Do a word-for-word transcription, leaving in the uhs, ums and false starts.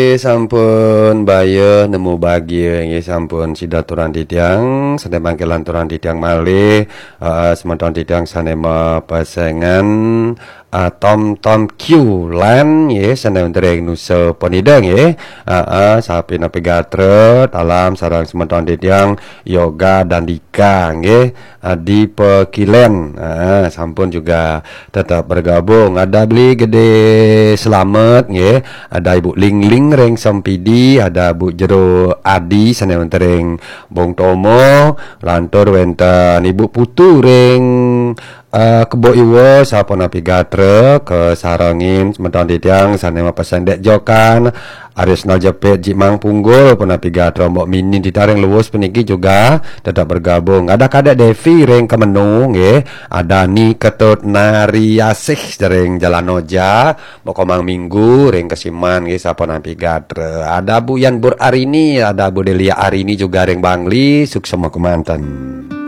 Sampun bayuh nemu bagia nggih, sampun sida aturang titiang, sané manggilang aturang titiang malih, eh, semeton titiang sané mapesengan, eh, Tom Tom Q Land nggih, sané wénten ring Nusa Penida nggih. Eh, eh, sapunapi gatra, talam sareng semeton titiang Yoga Dandika nggih, eh, di Pekilen. Eh, sampun juga tetap bergabung. Ada Beli Gede Selamet nggih, ada Ibu Ling Ling ring Sempidi, ada Bu Jero Adi sané wénten ring Bong Tomo, lantur wénten Ibu Putu ring, eh, Kebo Iwa, sapunapi gatra, kasarengin semeton titiang sané mapesen Dék Jokan, Arisnal Jepit, Jimang Punggul, punapi gatra, Mbok Minin titiang ring Luwus puniki juga tetap bergabung. Ada Kadek Devi ring Kemenu nggih, ada Ni Ketut Nari Asih ring Jalan Oja, Mbok Komang Minggu ring Kesiman nggih, sapunapi gatra. Ada Bu Yan Bur Arini, ada Bu Delia Arini juga ring Bangli, suksma kemanten.